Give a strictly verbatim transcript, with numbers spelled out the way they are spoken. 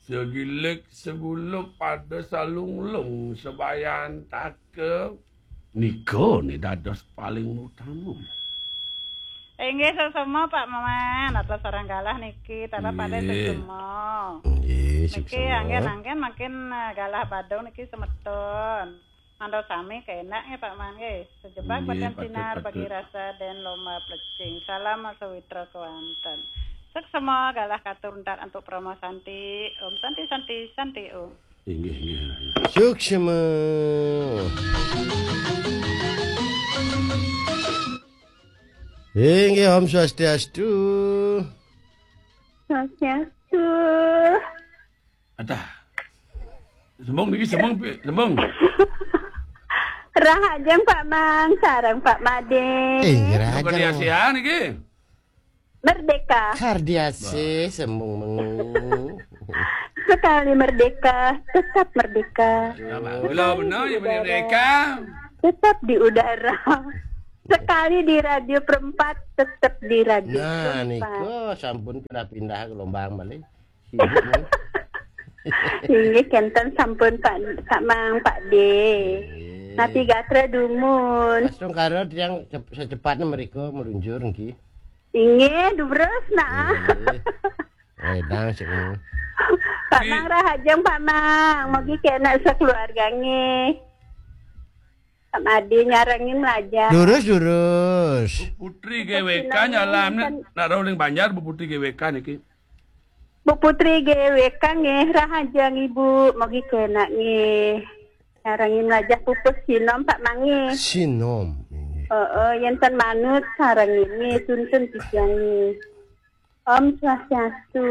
Segilik segulup pada salunglung sebayan taka. Nika ni dados paling utama. Inggih, suksma, Pak Maman. Atas sareng galah niki, talah pada suksma. Nggih, niki suksma. Anggen-anggen mangkin, eh, galah Badung niki semeton. Manto sami kenak nggih, Pak Man nggih. Sejebak nggih, beten patut, sinar patut. Bagi rasa den lomba plecing. Salam sawitra kewanten. Suksma galah katur entar antuk Parama Santi. Om Santi, Santi, Santi, Om. Inggih, inggih. Suksma. Inggih, Om Swastiastu. Swastiastu. Adah. Sembung niki, sembung, Pi, sembung. Rahajeng Pak Mang, sareng Pak Made. Eh, rahajeng. Bukan Asia niki. Merdeka. Kardiasih, sembung mengu. Sekali merdeka, tetap merdeka. Kula benar ya, merdeka. Tetap di udara. Sekali di Radio Perempat, tetap di Radio Nah, Perempat. Niku sampun pindah-pindah gelombang malih. Sibuk, men. Inggih, kenten sampun, Pak, Pak Mang, Pak De. Nggih. Napi gatra dumun? Astungkara tiang cep-, secepatnya mereka meluncur, nggih. Inggih, durus, nah. Nggih. Wedang sik. Pak Mang rahajeng, Pak Mang. Mugi kenak sekeluarga, nggih. Pak Made nyarengin mlajah. Durus, durus. Bu Putri G W K nyalam, nak rauh ring Banjar, Bu Putri G W K niki. Bu Putri G W K nggih, rahajeng Ibu, mugi kenak nggih. Nyarengin mlajah pupus sinom, Pak Mang nggih. Sinom, nggih. Heeh, yen ten manut sarengin nggih, suntun titiang nggih. Om Swastiastu.